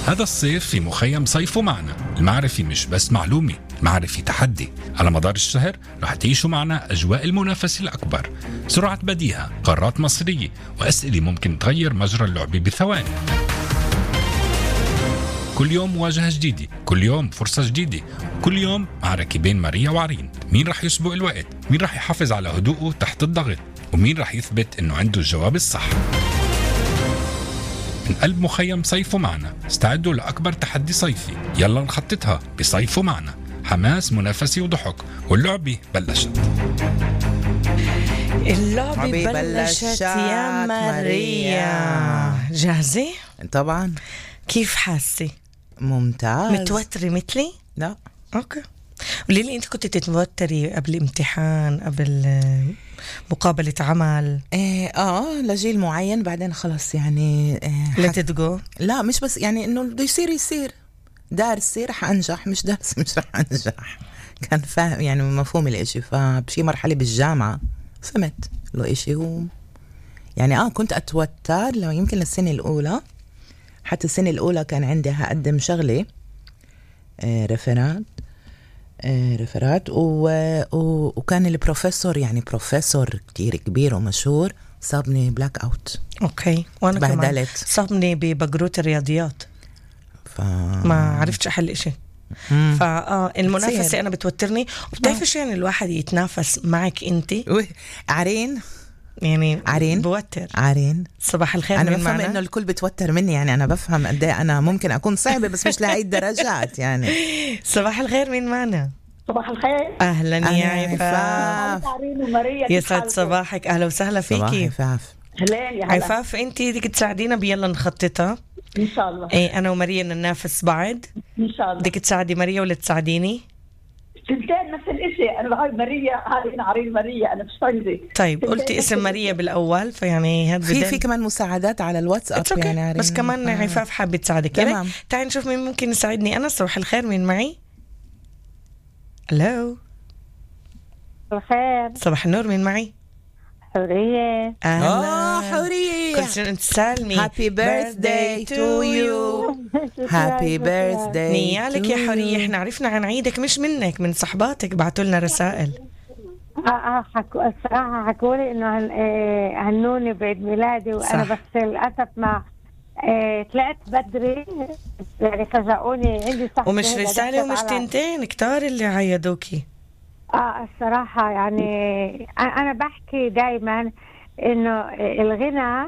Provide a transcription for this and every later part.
هذا الصيف في مخيم صيفوا معنا. المعرفة مش بس معلومة، المعرفة تحدي. على مدار الشهر رح تعيشوا معنا أجواء المنافسة الأكبر، سرعة بديهة، قارات مصرية، وأسئلة ممكن تغير مجرى اللعبة بثواني. كل يوم مواجهة جديدة، كل يوم فرصة جديدة، كل يوم معركة بين ماريا وعرين. مين رح يسبق الوقت؟ مين رح يحافظ على هدوءه تحت الضغط؟ ومين رح يثبت إنه عنده الجواب الصح؟ من قلب مخيم صيفوا معنا، استعدوا لأكبر تحدي صيفي. يلا نخططها بصيفوا معنا. حماس، منافسة وضحك، واللعبة بلشت. اللعبة بلشت يا ماريا. جاهزة؟ طبعا. كيف حاسة؟ ممتاز. متوترة مثلي؟ لا. اوكي. قولي لي، انت كنت تتوتري قبل امتحان، قبل مقابلة عمل؟ لجيل معين، بعدين خلص يعني let it go. لا مش بس يعني انه بده يصير دارسي رح انجح، مش دارسي مش رح انجح. كان فاهم يعني مفهوم الاشي. فبشي مرحلة بالجامعة فهمت له اشي هو يعني كنت اتوتر لو يمكن للسنة الاولى. حتى السنة الاولى كان عندي هقدم شغلة ريفرات وكان البروفيسور يعني بروفيسور كتير كبير ومشهور صابني بلاك اوت. اوكي. وانا كمان بهدلت. صابني ببقروت الرياضيات. ما عرفتش احل اشي. المنافسة انا بتوترني. وبتعرفش يعني الواحد يتنافس معك انت عرين يعني عرين بوتر. عرين صباح الخير. انا من بفهم معنا؟ انه الكل بتوتر مني، يعني انا بفهم قد ايه انا ممكن اكون صعبة بس مش لهي الدرجات يعني. صباح الخير. مين معنا؟ صباح الخير. اهلا يا عفاف. عرين وماريا. يسعد صباحك. اهلا وسهلا فيكي. عفاف. هلين يا هلا. عفاف، انت بدك تساعدينا بيلا نخططها. ان شاء الله. ايه، انا وماريا ننافس بعض. ان شاء الله. بدك تساعدي ماريا ولا تساعديني؟ تنتين نفس الاشي. انا هاي ماريا، هاي انا عرين ماريا، انا مش فاهمة. طيب قلتي اسم ماريا بالاول، فيعني هذا في كمان مساعدات على الواتساب يعني عرين. بس كمان عفاف حابة تساعدك. تمام. تعالي نشوف مين ممكن يساعدني انا. صباح الخير. مين معي؟ الو. الخير. صباح النور. مين معي؟ حورية. اهلا. حورية. كل سنة انت تسالني. Happy birthday to you. Happy birthday. نيالك يا حورية. احنا عرفنا عن عيدك مش منك، من صحباتك بعتوا لنا رسائل. الصراحة حكولي انه هنوني بعيد ميلادي، وانا صح. بس للأسف ما طلعت بدري يعني فجأوني. عندي صح ومش رسالة ومش تنتين، كتار اللي عيدوكي. الصراحة يعني أنا بحكي دايما إنه الغنى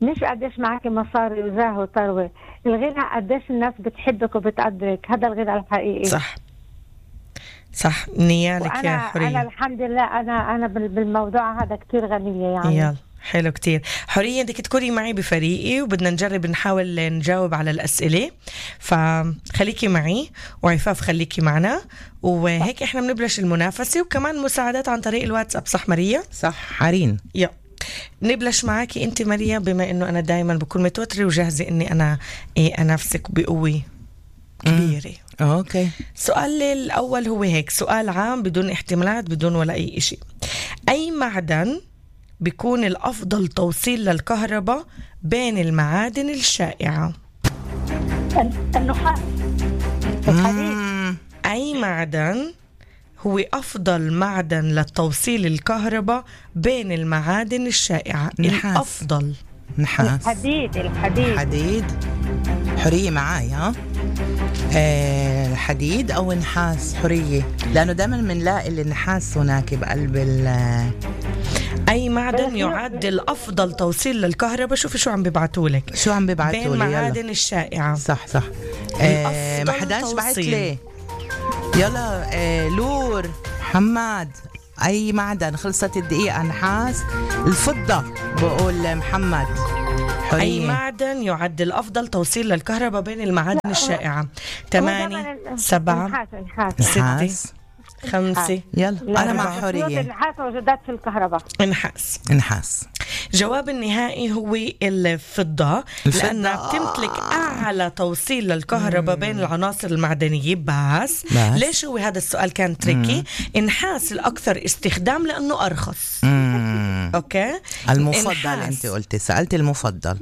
مش قديش معك مصاري وزاه وثروة، الغنى قديش الناس بتحبك وبتقدرك. هذا الغنى الحقيقي. صح نيالك يا حورية. أنا الحمد لله أنا بالموضوع هذا كتير غنية يعني. يلا حلو كتير. حورية، بدك تكوني معي بفريقي وبدنا نجرب نحاول نجاوب على الأسئلة، فخليكي معي. وعفاف خليكي معنا، وهيك احنا بنبلش المنافسة، وكمان مساعدات عن طريق الواتساب. صح ماريا؟ صح عرين. نبلش معاكي انت ماريا، بما انه انا دايما بكون متوترة وجاهزة اني انا انافسك بقوة كبيرة. اوكي. السؤال الأول هو هيك، سؤال عام بدون احتمالات بدون ولا أي إشي. أي معدن بيكون الأفضل توصيل للكهرباء بين المعادن الشائعة؟ النحاس. الحديد. أي معدن هو أفضل معدن للتوصيل الكهرباء بين المعادن الشائعة؟ نحاس. الأفضل نحاس. الحديد. حورية معاي ها؟ الحديد أو نحاس حورية، لأنه دائما منلاقي النحاس هناك بقلب أي معدن يعد الأفضل توصيل للكهرباء. شوفي شو عم ببعتولك. شو عم ببعتولي؟ بين معادن الشائعة. صح. ما حداش بعت لي. يلا لور محمد. أي معدن؟ خلصت الدقيقة. نحاس. الفضة بقول محمد. حورية. أي معدن يعد الأفضل توصيل للكهرباء بين المعادن الشائعة؟ 8 7 6 5. يلا أنا مع حورية. النحاس موجودات في الكهرباء. نحاس. جواب النهائي هو الفضة، لأنها بتمتلك أعلى توصيل للكهرباء بين العناصر المعدنية. بس ليش هو هذا السؤال كان تريكي؟ النحاس الأكثر استخدام لأنه أرخص. أوكي. المفضل أنت قلتي، سألت المفضل.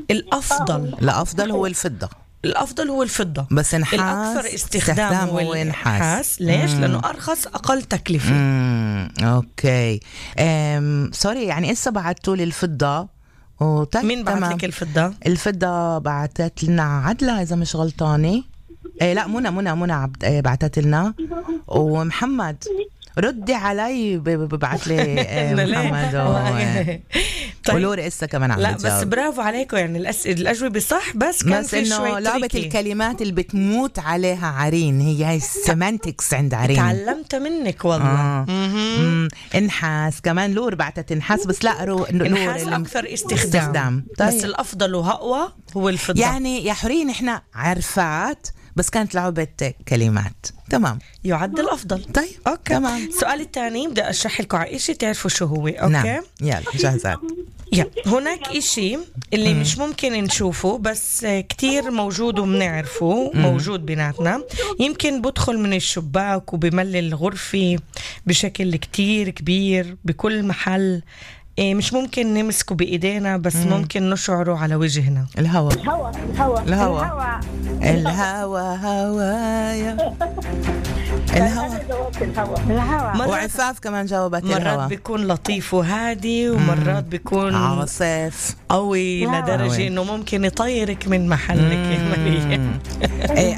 الأفضل هو الفضة. الأفضل هو الفضة، بس نحاس الأكثر استخدام هو النحاس. ليش؟ لأنه أرخص، أقل تكلفة. أوكي. سوري، يعني إسا بعتوا لي الفضة. مين بعت لك الفضة؟ الفضة بعتت لنا عدلة إذا مش غلطانة. لا، منى بعتت لنا، ومحمد ردي علي ببعت لي محمد ولوري إسا كمان عم لا بتجاوب. بس برافو عليكم، يعني الأجوبة صح، بس كان في شوي لعبة تريكي. الكلمات اللي بتموت عليها عرين، هي السيمانتكس عند عرين. تعلمت منك والله. انحاس كمان، لور بعتت انحاس، بس لا انحاس أكثر استخدام. طيب. بس الأفضل وأقوى هو الفضة. يعني يا حورين احنا عرفات، بس كانت لعبة كلمات. تمام، يعد الأفضل. طيب أوكي. تمام. السؤال الثاني بدي أشرح لكم على إشي تعرفوا شو هو. أوكي. نعم. يلا جاهزات. هناك إشي اللي مش ممكن نشوفه، بس كتير موجود وبنعرفه، موجود بيناتنا. يمكن بدخل من الشباك وبملي الغرفة بشكل كتير كبير بكل محل. مش ممكن نمسكه بإيدينا، بس ممكن نشعره على وجهنا. الهواء. الهواء الهواء. الهواء. هوايا. الهواء. وعفاف كمان جاوبت الهواء. مرات بيكون لطيف وهادي، ومرات بيكون عاصف قوي لدرجة إنه ممكن يطيرك من محلك يا مريم.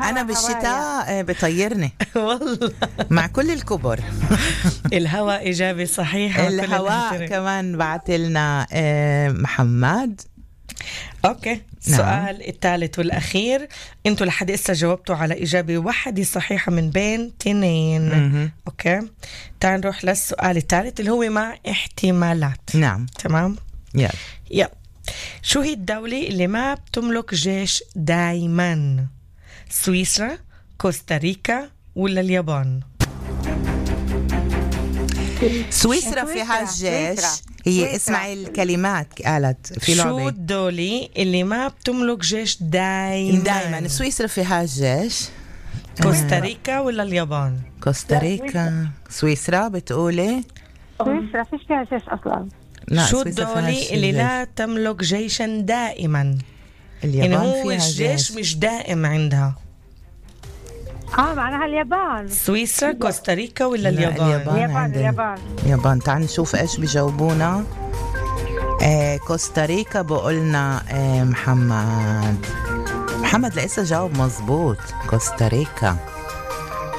أنا بالشتاء بطيرني والله مع كل الكبر. الهواء إجابة صحيحة. الهواء كمان بعت لنا محمد. أوكي. السؤال الثالث والأخير، أنتوا لحد إسا جاوبتوا على إجابة واحدة صحيحة من بين 2. أوكي، تعال نروح للسؤال الثالث اللي هو مع احتمالات. نعم. تمام. يلا. شو هي الدولة اللي ما بتملك جيش دايما؟ سويسرا، كوستاريكا، ولا اليابان؟ سويسرا فيها الجيش. هي اسمعي الكلمات قالت في لعبة. شو الدولة اللي ما بتملك جيش دايما؟ سويسرا فيها الجيش. كوستاريكا ولا اليابان؟ كوستاريكا. سويسرا بتقولي؟ سويسرا فيش فيها جيش أصلا. شو الدولة اللي لا تملك جيشا دائما؟ اليابان يعني هو فيها الجيش مش دائم عندها. معناها اليابان. سويسرا، كوستاريكا ولا اليابان؟ اليابان. تعال نشوف ايش بيجاوبونا. كوستاريكا بقولنا محمد لسه جاوب مزبوط.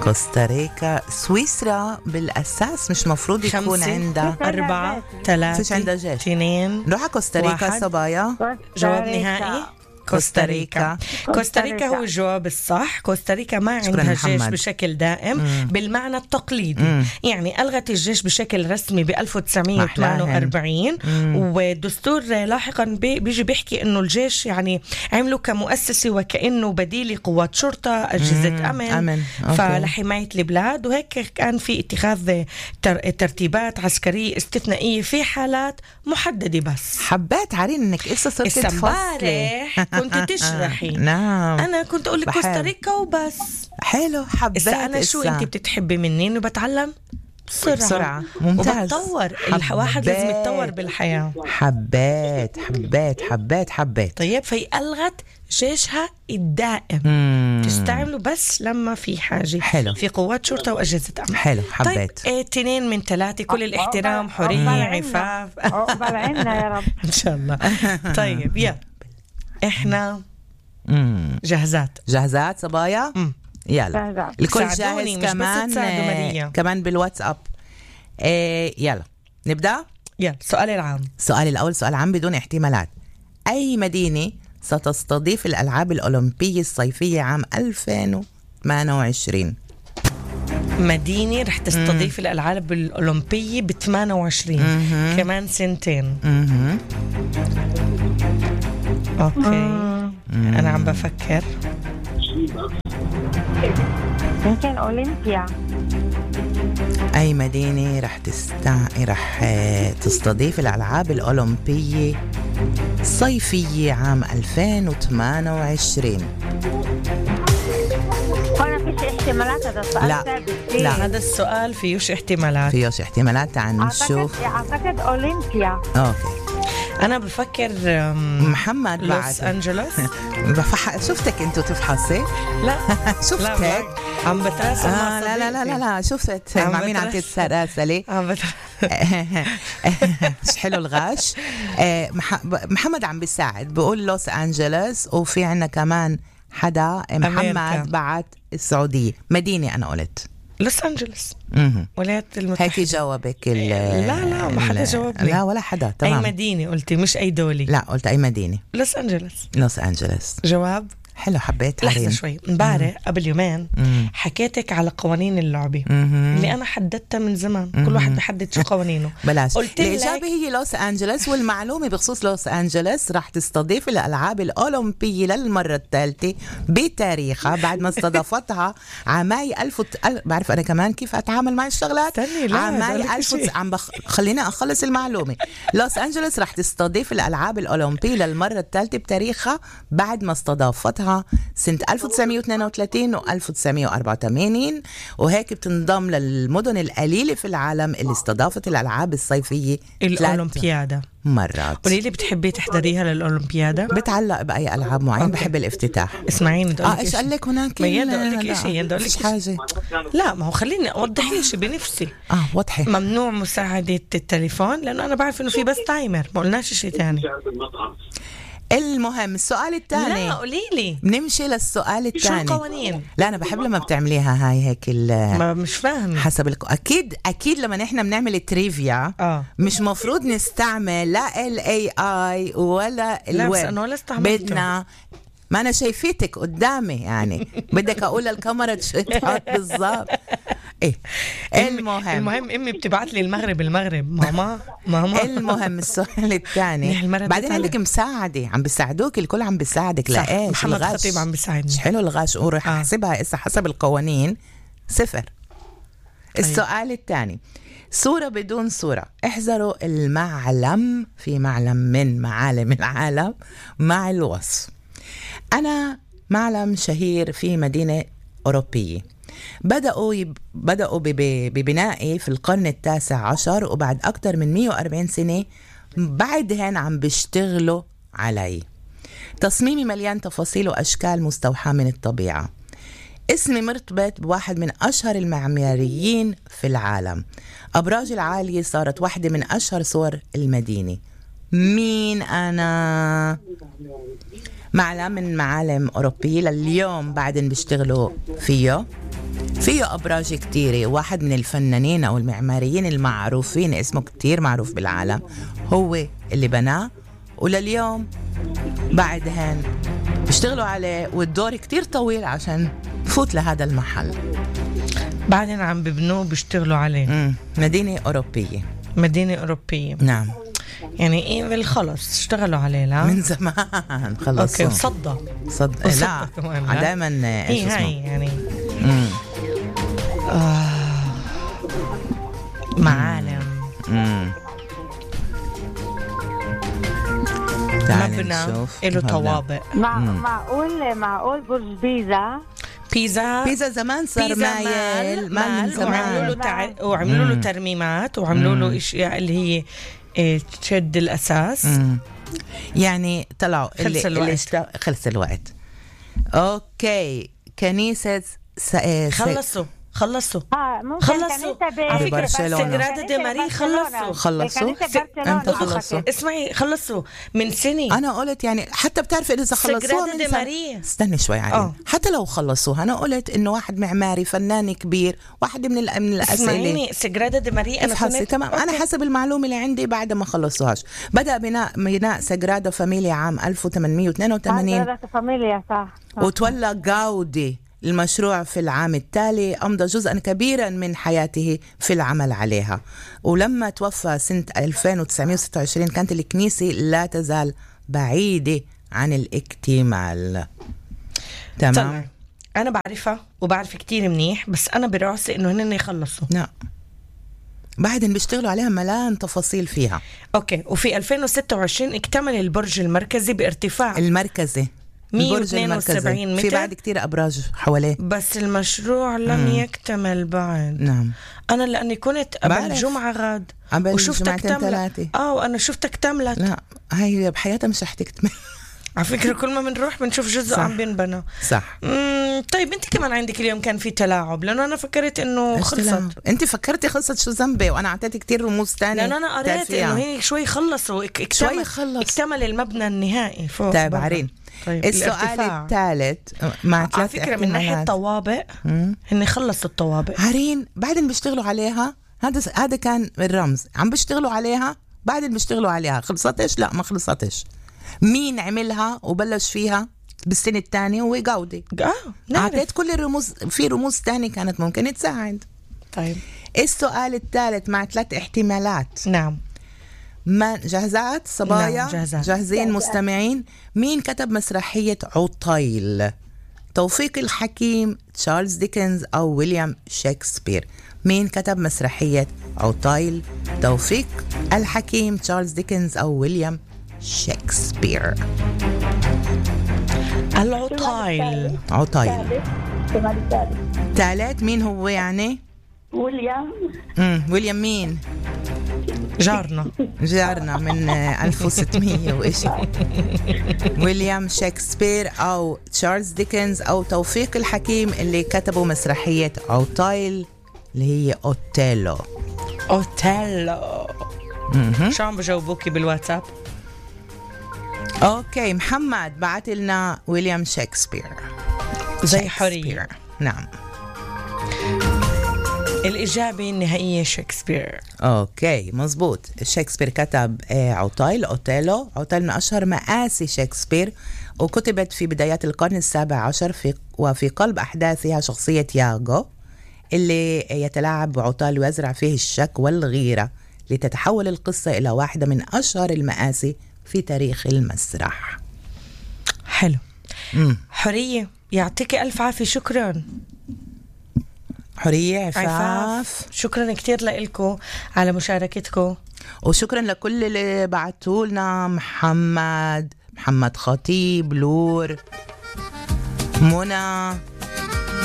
كوستاريكا. سويسرا بالأساس مش مفروض يكون عندها 4 3 فيش عندها جيش. 2. نروح على كوستاريكا. صبايا جواب نهائي كوستاريكا. كوستاريكا هو الجواب الصح. كوستاريكا ما عندها جيش بشكل دائم بالمعنى التقليدي. يعني ألغت الجيش بشكل رسمي ب 1948، والدستور لاحقا بيجي بيحكي إنه الجيش يعني عملوا كمؤسسة وكأنه بديل قوات شرطة، أجهزة أمن. فلحماية البلاد، وهيك كان في اتخاذ ترتيبات عسكرية استثنائية في حالات محددة. بس حبيت عارين إنك إسا صرت تفصلي كنت تشرحي. نعم. أنا كنت أقول لك كوستاريكا وبس. حلو. حبيت. أنا شو أنت بتتحبي مني؟ إنه بتعلم بسرعة. ممتاز. وبتطور. الواحد لازم يتطور بالحياة. حبيت. طيب، في ألغت جيشها الدائم. تستعمله بس لما في حاجة. حلو. في قوات شرطة وأجهزة أمن. حلو. حبيت. طيب 2 من 3. كل الاحترام. حورية، عفاف. بلعنا يا رب إن شاء الله. طيب يلا، إحنا جاهزات صبايا. يلا الكل جاهز. كمان بالواتساب. يلا نبدأ. يلا السؤال العام. السؤال الأول سؤال عام بدون احتمالات. أي مدينة ستستضيف الألعاب الأولمبية الصيفية عام 2028؟ مدينة رح تستضيف الألعاب الأولمبية ب 28 كمان 2 سنين. أوكي. أنا عم بفكر. يمكن أولمبيا. أي مدينة رح تستضيف الألعاب الأولمبية الصيفية عام 2028؟ هنا فيش احتمالات. هذا السؤال لا هذا السؤال فيهوش احتمالات. تعال نشوف. أعتقد أولمبيا. أوكي. أنا بفكر محمد لوس أنجلوس. شفتك أنتو تفحصي؟ لا شفتك لا عم بتراسل مع لا لا لا لا لا شفت مع مين عم تتراسلي؟ حلو الغش. محمد عم بيساعد بقول لوس أنجلوس، وفي عنا كمان حدا محمد بعت السعودية. مدينة أنا قلت لوس أنجلوس ولايات المتحدة. هيك جاوبك لا ما حدا جاوبني. لا ولا حدا. تمام. أي مدينة قلتي مش أي دولة؟ لا قلت أي مدينة. لوس أنجلوس. لوس أنجلوس جواب حلو. حبيت لحظة شوي. امبارح قبل يومين حكيتك على قوانين اللعبة اللي أنا حددتها من زمان. كل واحد بحدد شو قوانينه. بلاش. قلت الإجابة هي لوس أنجلوس. والمعلومة بخصوص لوس أنجلوس راح تستضيف الألعاب الأولمبية للمرة الثالثة بتاريخها بعد ما استضافتها عامي بعرف أنا كمان كيف أتعامل مع الشغلات. عامي خلينا أخلص المعلومة. لوس أنجلوس راح تستضيف الألعاب الأولمبية للمرة الثالثة بتاريخها بعد ما استضافتها سنة 1932 و 1984، وهيك بتنضم للمدن القليلة في العالم اللي استضافت الألعاب الصيفية الأولمبيادة مرات. قولي لي بتحبي تحضريها للأولمبيادة؟ بتعلق بأي ألعاب معين. بحب الافتتاح. اسمعيني بدي أقول لك إيش قال لك هناك؟ ما يلا أقول لك شيء. يلا أقول لك حاجة. لا ما هو خليني أوضح لي شيء بنفسي. وضحي. ممنوع مساعدة التليفون لأنه أنا بعرف إنه في بس تايمر، ما قلناش شيء تاني. المهم السؤال الثاني. لا قولي لي. بنمشي للسؤال الثاني. شو القوانين؟ لا أنا بحب لما بتعمليها هاي هيك ما مش فاهم. حسب أكيد لما نحن بنعمل تريفيا مش مفروض نستعمل لا AI ولا الويب. بدنا ما أنا شايفيتك قدامي يعني بدك أقول للكاميرا شو تحط بالضبط. إيه المهم أمي بتبعت لي المغرب ماما المهم السؤال الثاني. بعدين عندك مساعدة عم بيساعدوك. الكل عم بيساعدك. لإيش؟ محمد خطيب عم بيساعدني. حلو الغش. ورح أحسبها إسا حسب القوانين 0. السؤال الثاني. صورة بدون صورة. احذروا المعلم. في معلم من معالم العالم مع الوصف. أنا معلم شهير في مدينة أوروبية. بدأوا ببنائي في القرن 19 وبعد أكتر من 140 سنة بعدهن عم بيشتغلوا علي. تصميمي مليان تفاصيل وأشكال مستوحاة من الطبيعة. اسمي مرتبط بواحد من أشهر المعماريين في العالم. أبراج العالية صارت واحدة من أشهر صور المدينة. مين أنا؟ معلم من معالم أوروبية لليوم بعدين بيشتغلوا فيه أبراج كتيرة. واحد من الفنانين أو المعماريين المعروفين اسمه كتير معروف بالعالم هو اللي بناه، ولليوم بعدهن بيشتغلوا عليه والدور كتير طويل عشان فوت لهذا المحل. بعدين عم ببنوه بيشتغلوا عليه. مدينة أوروبية. نعم. يعني إيه بالخلص اشتغلوا عليه لا من زمان خلصوا. أوكي. صدق لا دائما هي يعني معالم مبنى له طوابق. معقول برج بيزا زمان صار مايل ما من زمان. وعملوا له ترميمات وعملوا له اشياء اللي هي تشد الاساس. يعني طلعوا خلص الوقت. اوكي. كنيسة خلصوا خلصوا على فكرة سجرادة دي ماري خلصوا امتى خلصوا؟ اسمعي خلصوا من سنة. انا قلت يعني حتى بتعرف اذا خلصوها من سنة. استني شوي علي. حتى لو خلصوها انا قلت انه واحد معماري فنان كبير واحد من الاسئله. اسمعيني سجرادة دي ماري انا كنت تمام. انا حسب المعلومه اللي عندي بعد ما خلصوهاش بدأ بناء سجرادة فاميليا عام 1882. فاميليا صح. وتولى غاودي المشروع في العام التالي. أمضى جزءا كبيرا من حياته في العمل عليها. ولما توفى سنة 1926 كانت الكنيسة لا تزال بعيدة عن الاكتمال. تمام. أنا بعرفها وبعرف كتير منيح بس أنا براسي إنه هن يخلصوا. لا بعدين بيشتغلوا عليها ملان تفاصيل فيها. أوكي. وفي 2026 اكتمل البرج المركزي بارتفاع 172 متر. في بعد كتير أبراج حواليه، بس المشروع لم يكتمل بعد. نعم. أنا لأني كنت قبل جمعة غاد وشفتك تملت. وأنا شفتك تملت. لا هاي بحياتها مش رح تكتمل. على فكرة كل ما بنروح بنشوف جزء عم بينبنى. صح. طيب انت كمان عندك اليوم كان في تلاعب، لأنه أنا فكرت إنه خلصت. انت فكرتي خلصت، شو ذنبي؟ وأنا أعطيتي كتير رموز تانية، لأنه أنا قريت إنه هي شوي خلصوا، اكتمل المبنى النهائي فوق. طيب عارين. طيب السؤال الثالث مع 3 على فكرة من ناحية طوابق هن خلصوا الطوابق عارين، بعدين بيشتغلوا عليها. هذا كان الرمز، عم بيشتغلوا عليها، بعدين بيشتغلوا عليها. خلصتش؟ لا ما خلصتش. مين عملها وبلش فيها بالسنة الثانية؟ هو جودي. أعطيت كل الرموز، في رموز تانية كانت ممكن تساعد. طيب السؤال الثالث مع 3 احتمالات. نعم. ما جاهزات صبايا؟ نعم جاهزين مستمعين؟ مين كتب مسرحية عطيل؟ توفيق الحكيم، تشارلز ديكنز، أو ويليام شكسبير؟ مين كتب مسرحية عطيل؟ توفيق الحكيم، تشارلز ديكنز، أو ويليام شكسبير؟ العطيل. عطيل ثالث. مين هو يعني؟ ويليام. ويليام مين؟ جارنا من 1600 وإشي. ويليام شكسبير أو تشارلز ديكنز أو توفيق الحكيم اللي كتبوا مسرحية عطيل اللي هي أوتيلو. شو عم بجاوبوكي بالواتساب؟ أوكي، محمد بعت لنا ويليام شكسبير زي حرية. نعم، الإجابة النهائية شكسبير. أوكي مزبوط. شكسبير كتب عطيل، أوتيلو. عطيل من أشهر مآسي شكسبير، وكتبت في بدايات القرن 17 وفي قلب أحداثها شخصية ياغو اللي يتلاعب بعطيل ويزرع فيه الشك والغيرة، لتتحول القصة إلى واحدة من أشهر المآسي في تاريخ المسرح. حلو. حرية يعطيك ألف عافية. شكرا حرية عفاف. شكرا كتير لكم على مشاركتكم، وشكرا لكل اللي بعتوا لنا. محمد خطيب، لور، منى،